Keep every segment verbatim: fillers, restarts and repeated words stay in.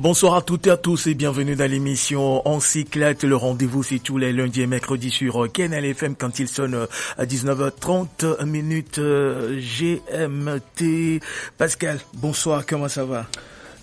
Bonsoir à toutes et à tous et bienvenue dans l'émission En Cyclette. Le rendez-vous, c'est tous les lundis et mercredis sur, euh, K N L F M quand il sonne, euh, à dix-neuf heures trente minutes, euh, G M T. Pascal, bonsoir, comment ça va?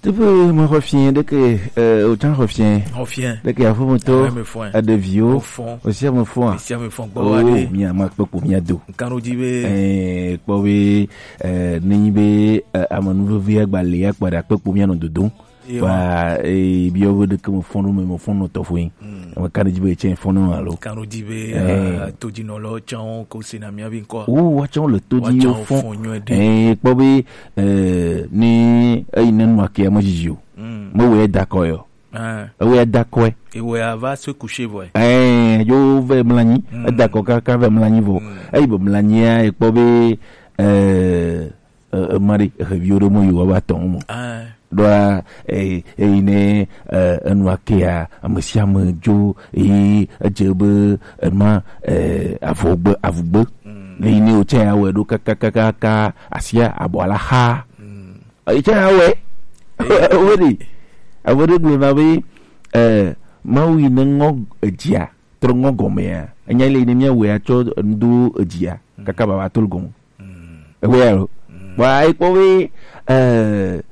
Tupu, mo xɔ fiẽ ɖeke, eh, o tsã xɔ fiẽ. Xɔ fiẽ. Ɖeke afo mo to, ah, me fɔe. Aɖe viwo. O fɔn. O sia me fɔn. Sia me fɔn gbɔ wa ɖe. Mia ma kpekpo mia do. Nkan ɖo dzi be. Eh, kpɔ be, eh, ne nyi be, eh, amenuveve agba le ya kpa ɖe akpekpo mia nɔ dodom. Ba, eh, biɔ be ɖeke me fɔn ɖo me, me fɔn nɔ tɔfo yin. Mm. Ame ka ɖe dzi be etsɛ fɔn nɔ alo? Kan ɖo dzi be, eh, todzinɔlawo tsã wo ko sena mía be ŋkɔ. Wo, woatsã wo le to dzi, woatsã wo fɔn. Fɔn nyuie ɖe. Eh, kpɔ be, eh, ni eyi ne nua ke ame dzidzi o. Mm. Me wɔ da kɔ yɔ. Eh. Ewe da kɔe. Ewe ava se coucher vɔe. Eh, yo ve mlanyi. Mm. Eda kɔ kaka ve mlanyi vɔ. Mm. Eyi be mlanyia, ekpɔ be, eh, eh, eh, mari, eh, viwo ɖe mo yi wa ba tɔn mo. Ah. Ɖoa, eh, eyi ne, eh, enua kea, ame sia ame dzo, eye edze be ema, eh, avɔgbe, avugbe. Mm. Le yi ne wòtsɛ ya wɔe ɖo kakakaka, asia abɔ ala xa. Mm. Etsɛ ya wɔe. Wo ɖe. Ame ɖe gblɔ na be, eh, Mawu yi ne ŋɔ edzia, trɔ ŋɔ gɔmea. Enya le yi ne mía wɔe atsɔ ŋdo edzia, kaka baba to le gɔme. Ewe ya lo. Wa ekpɔ be, eh,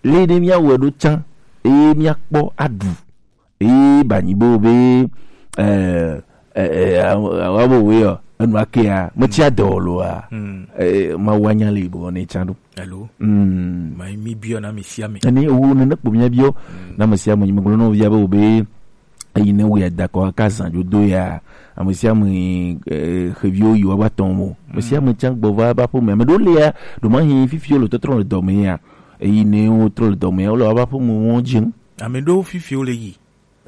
le ne mía wɔ ɖo tsã, eye mía kpɔ aɖu. Eye ba nyi bo be, eh, eh, eh, awa bo we yɔ, enu akea, me tsi adɔ lo a. Eh, ma wa nya le bo ne tsã ɖo. Hello. Mm. Ma mi biɔ na mi sia mi. Ene wo ne ne kpɔ mía biɔ, na me sia me, nyi me gblɔ na wo via be wo be, eyi ne wo ya da kɔ ka zan jo do ya, ame sia ame, eh, xeviwo yi wa ba tɔn mo. Ame sia ame tsã gbɔ va ba ƒo me. Ame ɖewo le ya, ɖo ma hi fifi wo le tɔtrɔ le dɔ me ya. Eyi ne wo trɔ le dɔ me ya, wo le wa ba ƒo me wo dzi. Ame ɖewo fifi wo le yi.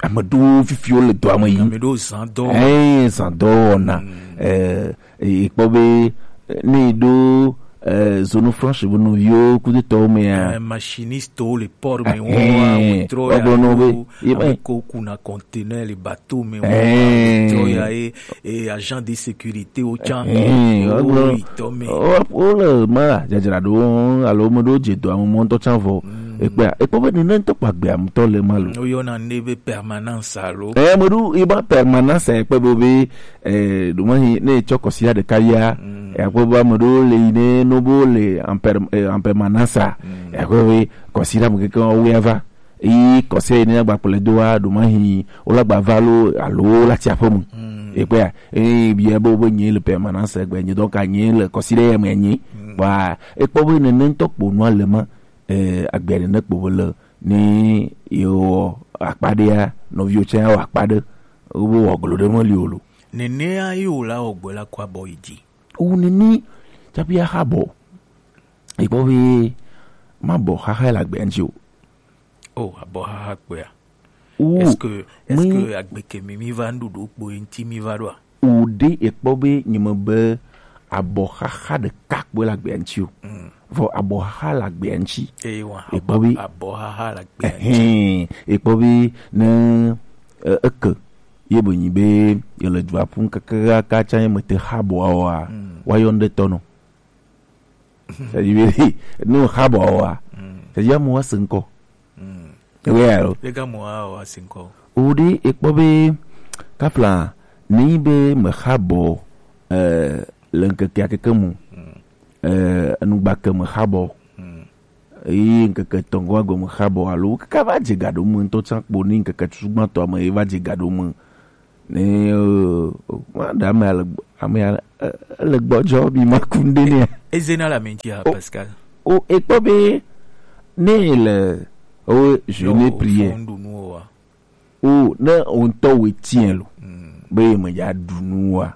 Ame ɖewo fifi wo le dɔa me yi. Ame ɖewo zan dɔ. Eh, zan dɔ wɔna. Eh, e kpɔ be, eh, ne yi ɖo, eh, zone franche be nɔviwo kudetɔwo mea. Eh, machiniste wo le port me wo, eh, wo trɔ ya wo gblɔ nɔ be, wo, ye ame ko kuna conteneur le bateau me wo, eh, wo trɔ ya ye, eh, agent de sécurité wo tsã. Eh, wo gblɔ, wo le ma dzadzra ɖo alo me ɖo dze dɔa me mɔ ŋutɔ tsã vɔ. Ekpea, ekpɔ be nene ŋutɔ kpa gbea ŋutɔ le ma lo. Wo yɔna ne be permanence alo. Eh, me ɖo, iba permanence ekpe be be, eh, ɖo ma hi, ne tsɔ kɔsia ɖeka ya, eh, akpɔ be ame ɖewo le yi ne no bo le en per-, eh, en permanence a. Eh, akpɔ be kɔsi ɖe ame keke wo ya va. Yi kɔsia yi ne agba kplɔe do wa, ɖo ma hi, wo la gba va lo, alo wo la tsi aƒe mu. Ekpea, eh, bia be wo be nye le permanence egbe nye, donc a nye le kɔsi ɖe ya me nye. Wa, ekpɔ be nene ŋutɔ kpo nua le ma, eh, agbe nene kpo be le. Ne yewɔ akpa ɖea, nɔviwo tsã ya wɔ akpa ɖe, wobe wɔ glo ɖe meli o lo. Nenea ye wòla wɔ gbe la kɔ abɔ yi dzi. Wu nene tsaƒe axa bɔ. Ekpɔ be mabɔ xaxa le agbea ŋuti o. Oh, abɔ xaxa kpea. Wu, est-ce que, est-ce que agbe ke mi, mi va nuɖuɖu kpo ye ŋuti mi va ɖoa? O ɖe ekpɔ be nye me be abɔxaxa ɖeka kpoe le agbea ŋuti o. Vɔ abɔxaxa le agbea ŋuti. Eye wa, ekpɔ be abɔxaxa le agbea ŋuti. Ɛhɛn, ekpɔ be ne, e, eke ye be nyi be yele dua ƒum kakaka tsã ye me te xa bɔa oa, wa yɔ ŋɖe tɔ nɔ. C'est-à-dire be ne xa bɔa oa, c'est-à-dire amewo ase ŋkɔ. Ewe ya lo. Lega mo a wa sinkɔ. O ɖe ekpɔ be kafla ne yi be me xa bɔ, eh, le ŋkeke akeke mu. Eh, enugba ke me xa bɔ. Eye ŋkeke tɔngɔ agbe me xa bɔ alo kaka va dze ga ɖo me ŋutɔ tsã kpo ne ŋkeke tutugbãtɔ me ye va dze ga ɖo me. Ne, eh, ma ɖe ame ale, ame ale, eh, ele gbɔdzɔ bi ma ku ŋɖe nɛ. Ezena le ame ŋuti a, Pascal. O, ekpɔ be ne le, o, jeûne prière. Fɔn ɖu nu o wa. O, ne o ŋutɔ wo tiɛ lo. Be me ya ɖu nu wa.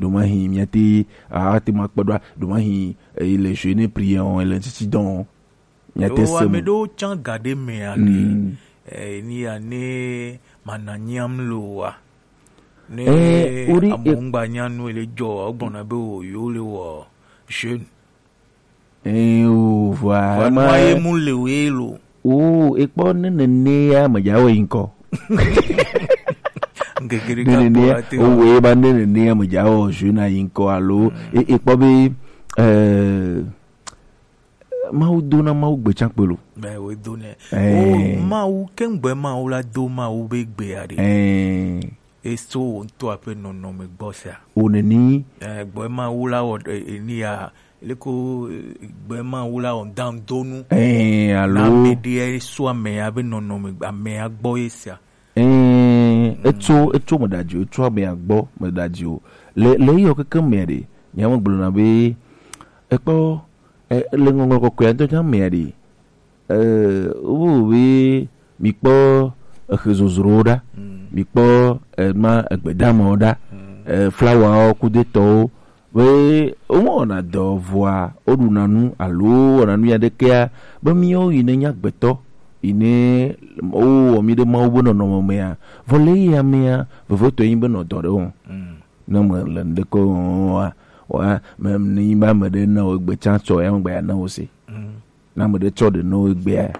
Ɖo ma hi mia te, a te ma kpɔ ɖo, ɖo ma hi, eh, le jeûne prière o, le titi dɔn. Mia te se ame ɖewo tsã ga ɖe mea ɖe, eh, ni ya ne mana nyam lo wa. Ne, eh, o ɖe, amewo ŋgba nya nu le dzɔ wa, wogbɔna be o yo le wɔ jeûne. Eh, o, vɔa, vɔa ema nua ye mu le we lo. O, ekpɔ ne nene ya me dza wɔ yi ŋkɔ. Ŋkeke ɖeka nene ya, kpɔ ate o we ba ne nene ya me dza wɔ jeûne yi ŋkɔ alo, e, ekpɔ be, eh, Mawu do na Mawu gbe can kpe lo. Be wo do ne. Eh. O Mawu, ke ŋgbe Mawu la do Mawu be gbe ya de. Eh. Eso wo ŋutɔ aƒe nɔnɔme gbɔ sia. O neni. Eh, gbe Mawu la wɔ, eh, eh, ni ya, leko, eh, gbe Mawu la wɔ dan donu. Eh, alo. Na ame ɖe eso ame ya be nɔnɔme, ame ya gbɔ ye sia. Ɛ̃, etso, etso me ɖe adzi o, etso ame ya gbɔ me ɖe adzi o. Le, le eyɔ keke mea ɖe, nyea megblɔna be, ekpɔ, e, le Ŋɔŋlɔ Kɔkɔea ŋutɔ tsã mea ɖe, e, wo be mikpɔ exe zozrowo ɖa, mikpɔ, e, ma, egbedamawo ɖa, e, flawawo, kudetɔwo, be womewɔna dɔ vɔa, woɖuna nu alo wowɔna nu aɖekea, be míawo yi ne nye agbetɔ, yi ne wowɔ mí ɖe Mawu be nɔnɔme mea, vɔ le eya mea, vevitɔe nyi be nɔ dɔ ɖe wɔm. Ne mele ŋɖeke wɔm oa, wa, me, ne nyi be ame ɖe na wò egbe tsã tsɔ, ya megbe ya na wò se. Ne ame ɖe tsɔ ɖe nɔ egbea,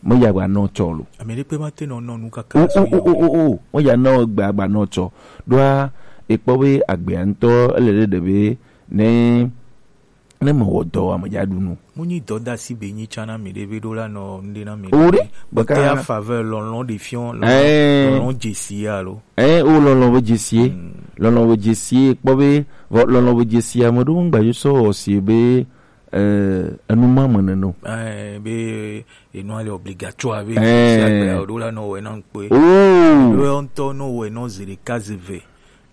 me ya gba nɔ tsɔ lo. Ame ɖekpe mate nɔ nɔ nu kaka o, o, o, o, o, o. Me ya nɔ egbea gba nɔ tsɔ. Ɖoa, ekpɔ be agbea ŋutɔ, ele ɖe ɖe be ne, ne mewɔ dɔ, ame dza ɖu nu. Mu nyi dɔdasi be nyi tsã na mi ɖe be ɖo la nɔ nu ɖe na mi. O ɖe, baka. Baka ya faveur lɔlɔ̃ ɖe fiɔ, lɔlɔ̃, eh, lɔlɔ̃ dzesi ya lo. Eh, o lɔlɔ̃ be dzesi. Lɔlɔ̃ be dzesi, ekpɔ be, vɔ lɔlɔ̃ be dzesi, ame ɖewo ŋgba yo sɔ wɔ si be, eh, enu ma me nene o. Eh, be, enu ale obligatoire be, eh, si agbe o ɖo la nɔ wɛ na ŋkpe. Oh. Ɖo ŋutɔ nɔ wɛ nɔ zi ɖeka zi ve.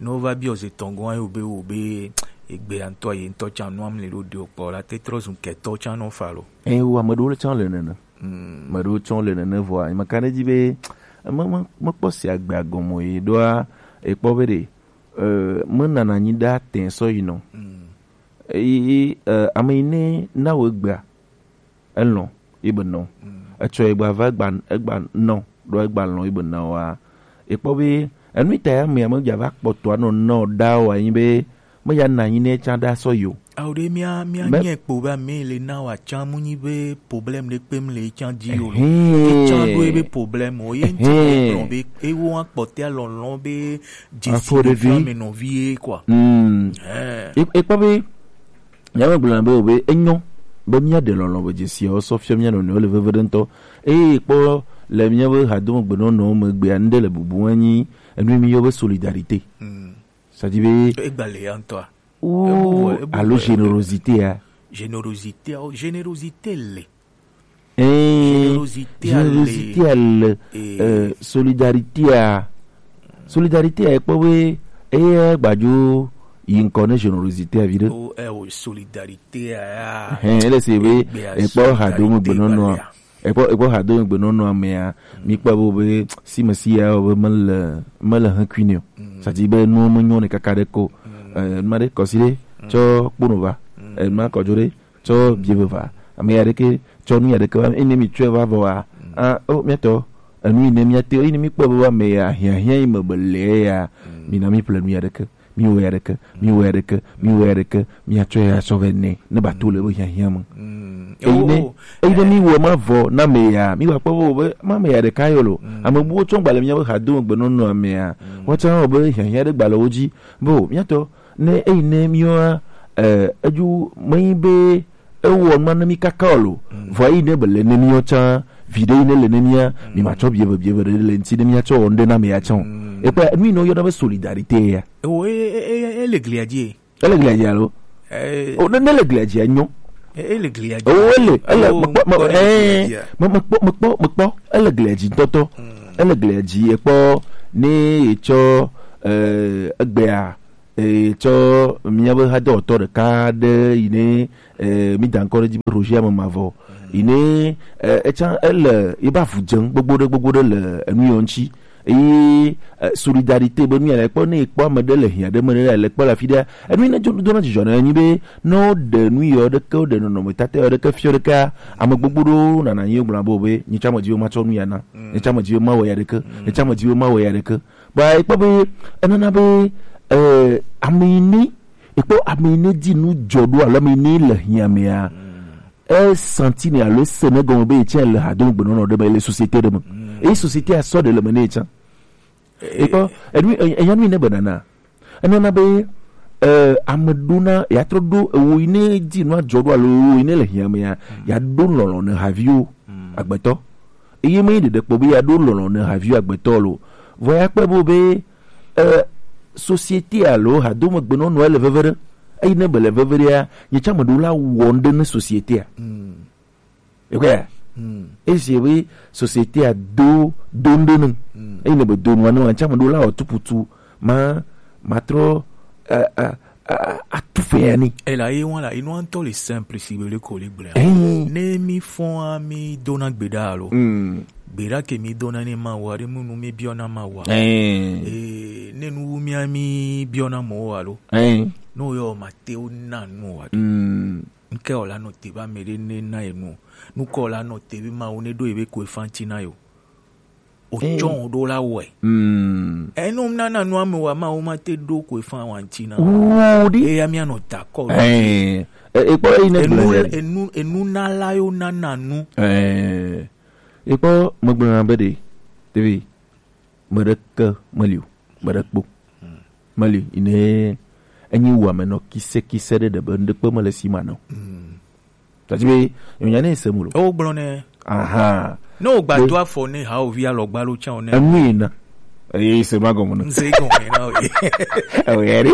Ne wova biɔ ze tɔn gɔn ayo be wo be egbe ya ŋutɔ ye ŋutɔ tsã nua mli ɖo ɖe o kpɔ la te trɔ zu ketɔ tsã nɔ fa lo. Eh, wo ame ɖewo le tsã le nene. Mm. Ame ɖewo tsã le nene vɔa, meka ɖe edzi be, me, me, mekpɔ si agbe agɔme o ye ɖoa, ekpɔ be ɖe, eh, menana anyi ɖe atɛ sɔ yi nɔ. Mm. Eyi, eh, ame yi ne na wo egbea, elɔ̃, yi be nɔ. Mm. Etsɔ yi gba va egba, egba nɔ, ɖo egba lɔ̃ yi be nɔ wa. Ekpɔ be, enu ta ya me ame dza va kpɔtɔ anɔ nɔ da wa yi be, me ya na yi ne tsa da sɔ yo. Awo ɖe mía, mía nyɛ kpo be ame le na wa tsa mu nyi be problème ɖe kpem le tsa dzi o lo. Ke tsa ɖo ebe problème o, ye ŋti gblɔ be, ewo wa kpɔtɛ lɔlɔ̃ be, dzesi ɖe vi ame nɔvi ye, quoi. Mm. Eh. E-, ekpɔ be, Nyamegblɔna be, be enyo be míaɖe lɔlɔ̃ be dzesiawo sɔ fiɔ mía nɔnɔewo le veve ɖe ŋutɔ. Eye kpɔ le míabe hadomegbenɔnɔwo megbea, ŋɖe le bubu anyi enu yi míyɔ be solidarité. Mm. C'est-à-dire be egba le ya ŋutɔa. Ou ebu, ebu, alo ebu, générosité a. Générosité, oh, générosité le. Eh, générosité a le. Générosité a le, eh, solidarité a. Solidarité a, ekpɔ be, eye gbadzo yi ŋkɔ ne générosité a viɖe. Oh, eh, oh, solidarité a. Hein, ele se be, ekpɔ hadomegbenɔnɔa. Ekpɔ, ekpɔ hadomegbenɔnɔa mea, mi kpɔ be, be, si me si ya, be mele, mele hekui ne o. Mm. Ça dit be, nu menyo ne kaka ɖe ko. Mm. Eh, ma ɖe kɔsi ɖe, tsɔ kpono va. Mm. Eh, ma kɔdzo ɖe, tsɔ bie veva. Ame ya ɖeke tsɔ nu ya ɖeke va, ene mi tsɔe va vɔ wa. Mm. Ah, oh, miatɔ, enu yi ne miate, yi ne mi kpɔ be ame ya, hiahiã yi me be le ya, mm, mi na mi ƒle nu ya ɖeke, mi wɔ ya ɖeke, mi wɔ ya ɖeke, mi wɔ ya ɖeke, mi atsɔ ya sɔ vɛ nɛ, ne ba to le be hiahiã me. Mm. Eyi ne, oh, oh, eyi ne eh, mi wɔ ma vɔ na ame ya, mi wa kpɔ be, be ma ame ya ɖeka yɔ lo. Mm. Ame buwo tsɔ gbalẽ mia be hadome gbenɔnɔ ame ya. Mm. Woatsɔ wɔ be hiahiã ɖe gbalẽwo dzi. Bo, miatɔ, ne eyi ne miwa, eh, eju menyi be ewɔ nua ne mi kaka o lo. Mm. Vɔ eyi ne be le ne miɔ tsã, vi ɖe yi ne le ne mia, mm, mi ma tsɔ bieve, bieve ɖe le ŋti ne mia tsɔ wɔ ŋɖe na me ya tsã o. Mm. Ekpɔ, nu yi ne woyɔna be solidarité ya. Ewo, e, e, e, e, ele glia dzi. Ele glia dzi alo? Eh. O, ne, ne le glia dzi, enyo. E, ele glia dzi. O, ele, ele, oh, mekpɔ, me, ŋutɔ ele eh, glia dzia? Me, mekpɔ, mekpɔ, mekpɔ, ele glia dzi ŋutɔtɔ. Mm. Ele glia dzi, ekpɔ, ne etsɔ, eh, egbea, eh, tsɔ míabe hadɔwɔtɔ ɖeka ɖe yi ne, eh, mi da ŋkɔ ɖe edzi be Roger Amemavɔ. Mm. Yi ne, eh, etsã ele yi be avu dze gbogbo ɖe, gbogbo ɖe le enu yɔ ŋuti. Eye, eh, solidarité be nu ya le kpɔ, ne ekpɔ ame ɖe le hiã ɖe me ɖe le kpɔ le afi ɖe, enu yi ne dzo dona dzidzɔ ne enyi be ne woɖe nu yɔ ɖeke, woɖe nɔnɔmetata yɔ ɖeke fiɔ ɖekea, ame gbogbo ɖewo nana anyi gblɔ be, be, nye tsã medzi be matsɔ nu ya na. Mm. Nye tsã medzi be mawɔ ya ɖeke. Mm. Nye tsã medzi be mawɔ ya ɖeke. Ba ekpɔ be enana be, eh, ame yi ne, ekpɔ ame yi ne di nu dzɔ ɖo alo ame yi ne le hiã mea, mm, e sentir ne alo ese ne gɔme be etsã le hadome gbenɔnɔ ɖe me, le société ɖe me. Mm. Eye société a sɔ ɖe le me ne etsã. Eh, ekpɔ, eh, enu, eh, enya nu yi ne be nana. Enana be, Eh, ame ɖona, ya trɔ ɖo ewo yi ne di nu adzɔ ɖo alo ewo yi ne le hiã me ya, ya ɖo lɔlɔ̃ ne haviwo agbetɔ. Eye me ɖeɖe kpɔ be ya ɖo lɔlɔ̃ ne haviwo agbetɔ lo. Vɔ ya kpe bo be, eh, société alo hadome gbenɔnɔ ele veve ɖe. Eyi ne be le veve ɖea, nye tsã me ɖo la wɔ ŋɖe ne société a. Ekpɔa? Esi be société a do, do ŋɖe ne. Eyi ne be do nua ne wa, tsã me ɖo la wɔ tuputu. Ma, ma trɔ, eh, eh, eh, atu fɛ ya ni. Ela ye wan la, inu antɔ le simple si be le ko le gblẽ. Eh. Ne mi fɔn a mi dona gbeɖa alo. Gbeɖa ke mi dona ne ma wa, ɖe mu nu mi biɔna ma wa. Eh. Eh, ne nu wu mi a mi biɔna mɔ wa alo. Eh. No yo ma te o na nu wa. Nke o la no te ba me ɖe ne na e nu. Nu ko la no te be ma wo ne do e be ko e fanti na yo. O tsɔn ɖo la wɔe. Enu nana nu ame wa ma wo ma te ɖo ko e fan wa ŋti na. Wo ɖi. Eya mi anɔ ta kɔ. Eh, eh, ekpɔ eyi ne gblẽ. Enu, enu, enu na la yo nana nu. Eh, ekpɔ megblẽ na be ɖe, tevi, meɖeke meli o, meɖe kpo. Meli, ine enyi wu ame nɔ kise kise ɖe ɖe be ŋɖekpe mele si ma nɔ. Tati be, nyonya ne se mu lo. O gblɔ ne. Aha. Ne o gba do afɔ ne ha o vi alɔgba lo tsa o ne. Enu yi na. Eye se ma gɔme ne. Nze gɔme na o ye. O ye ri.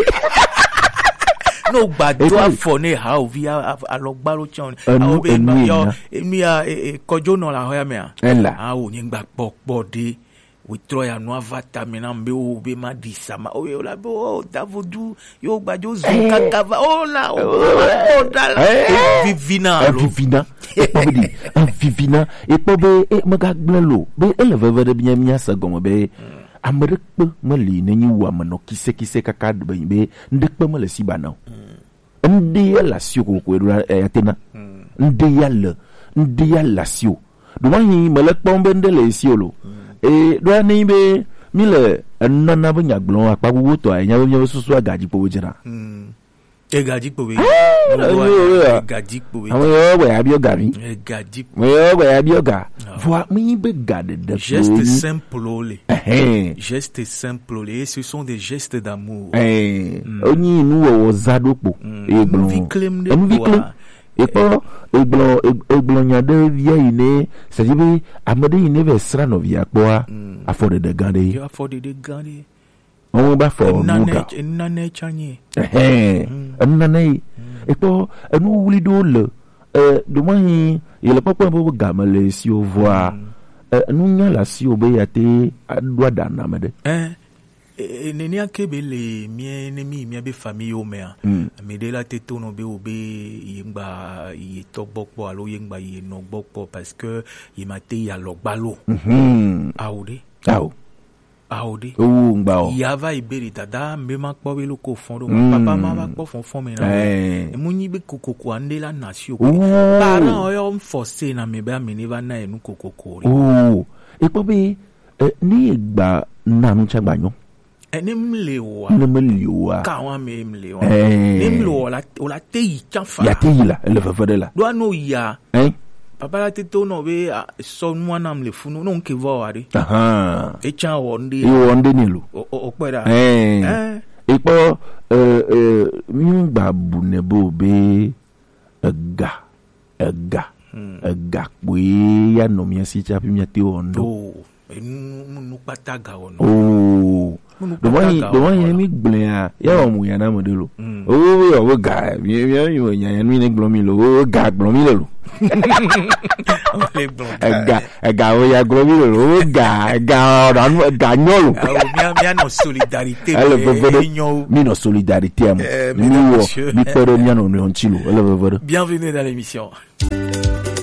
Ne o gba do afɔ ne ha o vi a-, a-, alɔgba lo tsa o ne. Enu, enu yi na. Enu ya, e, e, kɔjo nɔ la hɔ ya me a. Ela. A o nye gba kpɔ kpɔ de. Wotrɔ ya nua va tame nam be wo be ma ɖi sama. O yo la be o davodu yo gbadzo zu kaka va o la o la o da la. Eh. Evivina alo. Evivina. Ekpɔ be ɖi. Evivina. Ekpɔ be, e, megagblẽ lo. Be ele veve ɖe mía, mía se gɔme be ame ɖe kpe meli ne nyi wu ame nɔ kise kise kaka be, be ŋɖe kpe mele si ba na o. Ŋɖe ya le asiwò kokoko eɖo la, eh, ate na. Ŋɖe ya le, ŋɖe ya le asiwò. Ɖo mahi mele kpɔm be ŋɖe le asiwò lo. E ɖo ya ne be mi le enana be nyagblɔ akpa gbogbo tɔ anya be miabe susu agadzi kpo be dzena. Egadzi kpo be. Egadzi kpo be. Ame yawo gbe ya biɔ ga mi. Egadzi kpo. Ame yawo gbe ya biɔ ga. Vɔa mi be ga ɖeɖe kpo. Geste simple le. Ɛhɛn. Geste simple, et ce sont des gestes d'amour. Eh, onyi nuwɔwɔ za ɖo kpo. Eye gblɔ. Enuvi klem ɖe kpoa. Ekpɔ, egblɔ, eg-, egblɔ nya ɖe via yi ne, c'est-à-dire be ame ɖe yi ne vɛ sra nɔvia kpɔa, afɔɖeɖe gã ɖe. Yo afɔɖeɖe gã ɖe. Wɔn ba fɔ nu ga. Enane tsanye. Ɛhɛn, enane yi. Ekpɔ, enu wuli ɖo le, eh, ɖo mahi, yele kpɔkpɔ be ga me le si o vɔa, eh, enu nya la si o be ya te aɖo aɖa na me ɖe. Eh, e, e, nenea ke be le mía, ne mi, mía be famille wo mea, ame ɖe la te to nɔ be wo be ye ŋgba ye tɔ gbɔ kpɔ alo ye ŋgba ye nɔ gbɔ kpɔ parce que ye ma te yi alɔgba lo. Awo ɖe. Awo. Awo ɖe. Owu ŋgba o. Ya va yi be ɖe dada mbe ma kpɔ be lo ko fɔn ɖo. Papa ma va kpɔ fɔn fɔn me na. Eh. Emu nyi be kokoko ande la na si o. Owu. Parent o yo force na me be ame ne va na enu kokoko ɖe. Owu. Ekpɔ be, eh, ne gba na nu tsa gba nyɔ. Eh, ne mle wa. Ne mle wa. Ka wa me mle wa. Eh. Ne mle wa la, o la te yi tsa fa. Ya te yi la, ele veve ɖe la. Ɖo ano ya. Hein? Papa la te to nɔ be, a, sɔ nua nam le funu, no nke vɔ wa ɖe. Aha. E tsa wɔ nde. E wɔ nde ni lo. O, o, o kpɛ ɖa. Eh. Eh. Ekpɔ, eh, eh, mi gba bu ne bo be ega, ega, ega kpoe ya nɔ mía si tsafi mía te wɔ ŋɖe. Oh, enu, nu, nu kpata ga wɔ nɔ. Oh. Nu kpata ga wɔ nɔ. Ɖo mayi, ɖo mayi ne mi gblẽ ya, ya wɔ mu ya na me ɖe lo. Oh, ya wo ga, mi, mi, mi, nya, nya, mi ne gblɔ mi lo, wo ga gblɔ mi le lo. Wo le gblɔ ga. Ega, ega wo ya gblɔ mi le lo, wo ga, ega, ɔ, ega nyɔ lo. Awo, mía, mía nɔ solidarité. Ele veve ɖe. Mi nɔ solidarité me. Eh, mi mesdames, wɔ, messieurs. Mi kpe ɖe mía nɔ nɔewo ŋuti lo. Ele veve ɖe. Bienvenue dans l'émission.